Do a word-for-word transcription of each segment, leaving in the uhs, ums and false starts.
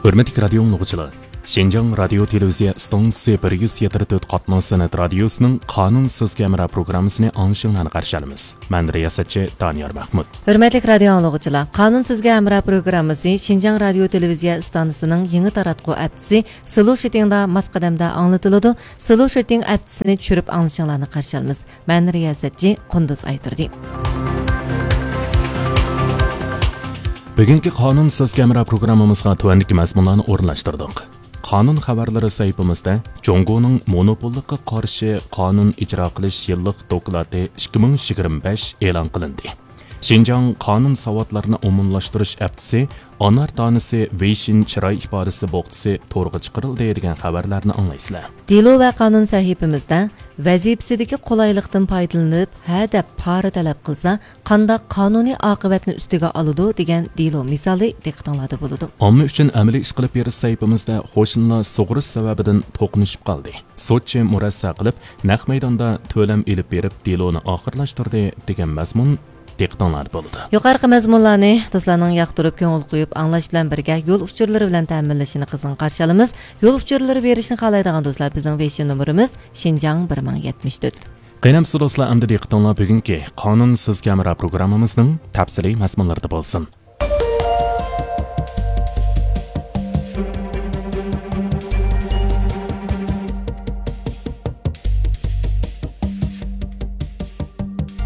ھۆرمەتلىك رادىيو ئاڭلىغۇچىلار، شىنجاڭ رادىيو تېلېۋىزىيە ئىستانسىسى بىر يۈز يەتتە تۆت قاتناش سەنئەت رادىيوسىنىڭ قانۇن سىزگە ھەمراھ پروگراممىسىنى ئاڭلىشىڭلارنى قارشى ئالىمىز. مەن رىياسەتچى دانىيار مەھمۇت. ھۆرمەتلىك رادىيو ئاڭلىغۇچىلار، قانۇن سىزگە ھەمراھ پروگراممىسى شىنجاڭ رادىيو تېلېۋىزىيە ئىستانسىسىنىڭ يېڭى تاراتقۇ ئەپچىسى سلو شىتىڭدا ماس قەدەمدە ئاڭلىتىلىدۇ. سلو شىتىڭ ئەپچىسىنى چۈشۈرۈپ ئاڭلىشىڭلارنى قارشى ئالىمىز. مەن رىياسەتچى قۇندۇز ئايتۇردى. بۈگۈنكى قانۇن سىزگە ھەمراھ پروگراممىمىزغا تۆۋەندىكى مەزمۇنلارنى ئورۇنلاشتۇردۇق. قانۇن خەۋەرلىرى سەھىپىمىزدە جۇڭگونىڭ مونوپوللۇققا قارشى قانۇن ئىجرا قىلىش يىللىق دوكلاتى ئىككى مىڭ يىگىرمە بەش ئېلان قىلىندى. شىنجاڭ قانۇن ساۋاتلىرىنى ئومۇملاشتۇرۇش ھەپتىسى، ئانار دانىسى، ۋېيشىن چىراي ئىپادىسى بوختىسى تورغا چىقىرىلدى دېگەن خەۋەرلەرنى ئاڭلايسىلەر. دېلو ۋە قانۇن سەھىپىمىزدە ۋەزىپىسىدىكى قولايلىقتىن پايدىلىنىپ، ھە دەپ پارا تەلەپ قىلسا، قانداق قانۇنىي ئاقىۋەتنى ئۈستىگە ئالىدۇ دېگەن دېلو مىسالى دىققىتىڭلاردا بولىدۇ. ئامما ئۈچۈن ئەمەلىي ئىش قىلىپ بېرىش سەھىپىمىزدە قوشنىلار سۇغۇرۇش سەۋەبىدىن توقۇنۇشۇپ قالدى. سوتچى مۇرەسسە قىلىپ، نەق مەيداندا تۆلەم ئېلىپ بېرىپ، دېلونى ئاخىرلاشتۇردى دېگەن مەزمۇن دىققىتىڭلاردا بولىدۇ. يۇقىرىقى مەزمۇنلارنى دوستلارنىڭ ياقتۇرۇپ، كۆڭۈل قويۇپ ئاڭلاش بىلەن بىرگە يول ئۇچۇرلىرى بىلەن تەمىنلىشىنى قىزغىن قارشى ئالىمىز. يول ئۇچۇرلىرى بېرىشنى خالايدىغان دوستلار بىزنىڭ ۋېيشىن نومۇرىمىز شىنجاڭ بىر مىڭ يەتمىش تۆت. قېنى ئەمىسە دوستلار، ئەمدى دىققىتىڭلار بۈگۈنكى قانۇن سىزگە ھەمراھ پروگراممىمىزنىڭ تەپسىلىي مەزمۇنلىرىدا بولسۇن.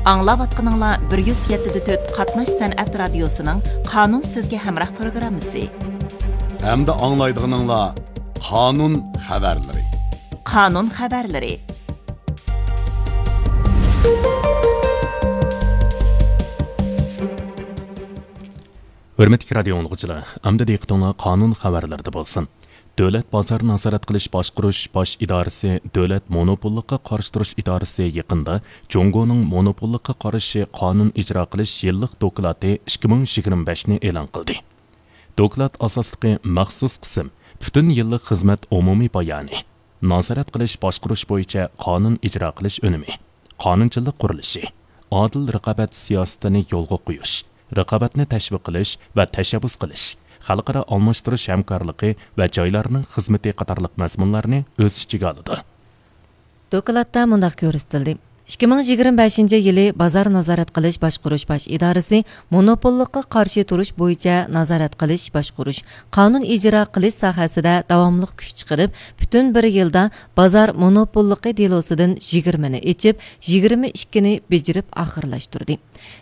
ئاڭلاۋاتقىنىڭلار بىر يۈز يەتتە تۆت قاتناش سەنئەت رادىيوسىنىڭ قانۇن سىزگە ھەمراھ پروگراممىسى. ھەمدە ئاڭلايدىغىنىڭلار قانۇن خەۋەرلىرى. قانۇن خەۋەرلىرى. ھۆرمەتلىك رادىيو ئاڭلىغۇچىلار، ئەمدى دىققىتىڭلار قانۇن خەۋەرلىرىدە بولسۇن. دۆلەت بازار نازارەت قىلىش باشقۇرۇش باش ئىدارىسى، دۆلەت مونوپوللۇققا قارشى تۇرۇش ئىدارىسى يېقىندا جۇڭگونىڭ مونوپوللۇققا قارشى قانۇن ئىجرا قىلىش يىللىق دوكلاتى ئىككى مىڭ يىگىرمە بەشنى ئېلان قىلدى. دوكلات ئاساسلىقى مەخسۇس قىسىم، پۈتۈن يىللىق خىزمەت ئومۇمىي بايانى، نازارەت قىلىش باشقۇرۇش بويىچە قانۇن ئىجرا قىلىش ئۈنۈمى، قانۇنچىلىق قۇرۇلۇشى، ئادىل رىقابەت سىياسىتىنى يولغا قويۇش، رىقابەتنى تەشۋىق قىلىش ۋە تەشەببۇس قىلىش، خەلقئارا ئالماشتۇرۇش ھەمكارلىقى ۋە جايلارنىڭ خىزمىتى قاتارلىق مەزمۇنلارنى ئۆز ئىچىگە ئالىدۇ. دوكلاتتا مۇنداق كۆرسىتىلدى. ئىككى مىڭ يىگىرمە بەشىنچى يىلى بازار نازارەت قىلىش باشقۇرۇش باش ئىدارىسى مونوپوللۇققا قارشى تۇرۇش بويىچە نازارەت قىلىش باشقۇرۇش، قانۇن ئىجرا قىلىش ساھەسىدە داۋاملىق كۈچ چىقىرىپ، پۈتۈن بىر يىلدا بازار مونوپوللۇقى دېلوسىدىن يىگىرمىنى ئېچىپ، يىگىرمە ئىككىنى بېجىرىپ ئاخىرلاشتۇردى.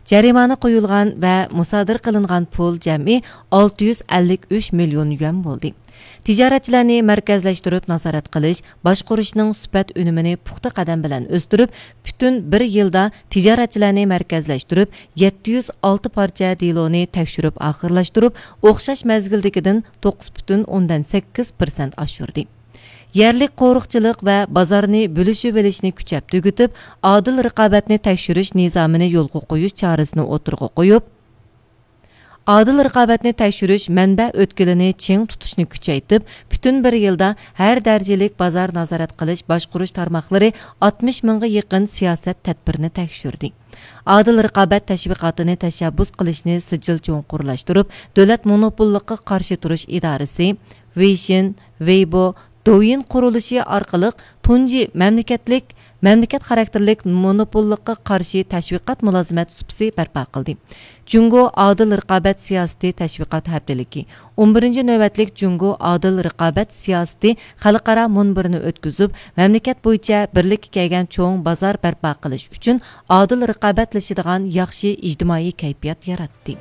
جەرىمانە قويۇلغان ۋە مۇسادىرە قىلىنغان پۇل جەمئىي ئالتە يۈز ئەللىك ئۈچ مىليون يۈەن بولدى. تىجارەتچىلەرنى مەركەزلەشتۈرۈپ نازارەت قىلىش، باشقۇرۇشنىڭ سۈپەت ئۈنۈمىنى پۇختا قەدەم بىلەن ئۆستۈرۈپ، پۈتۈن بىر يىلدا تىجارەتچىلەرنى مەركەزلەشتۈرۈپ، يەتتە يۈز ئالتە پارچە دېلونى تەكشۈرۈپ ئاخىرلاشتۇرۇپ، ئوخشاش مەزگىلدىكىدىن توققۇز پۈتۈن ئوندىن سەككىز پىرسەنت ئاشۇردى. يەرلىك قورۇقچىلىق ۋە بازارنى بۆلۈشۈۋېلىشنى كۈچەپ تۈگىتىپ، ئادىل رىقابەتنى تەكشۈرۈش نىزامىنى يولغا قويۇش چارىسىنى ئوتتۇرىغا قويۇپ، ئادىل رىقابەتنى تەكشۈرۈش مەنبە ئۆتكىلىنى چىڭ تۇتۇشنى كۈچەيتىپ، پۈتۈن بىر يىلدا ھەر دەرىجىلىك بازار نازارەت قىلىش باشقۇرۇش تارماقلىرى ئاتمىش مىڭغا يېقىن سىياسەت تەدبىرىنى تەكشۈردى. ئادىل رىقابەت تەشۋىقاتىنى تەشەببۇس قىلىشنى سىجىل چوڭقۇرلاشتۇرۇپ، دۆلەت مونوپوللۇققا قارشى تۇرۇش ئىدارىسى، ۋېيشىن، ۋېيبو، دوۋيىن قۇرۇلۇشى ئارقىلىق تۇنجى مەملىكەتلىك، مەملىكەت خاراكتېرلىك مونوپوللۇققا قارشى تەشۋىقات مۇلازىمەت سۇپىسى بەرپا قىلدى. جۇڭگو ئادىل رىقابەت سىياسىتى تەشۋىقات ھەپتىلىكى، ئون بىرىنچى نۆۋەتلىك جۇڭگو ئادىل رىقابەت سىياسىتى خەلقئارا مۇنبىرىنى ئۆتكۈزۈپ، مەملىكەت بويىچە بىرلىككە كەلگەن چوڭ بازار بەرپا قىلىش ئۈچۈن ئادىل رىقابەتلىشىدىغان ياخشى ئىجتىمائىي كەيپىيات ياراتتى.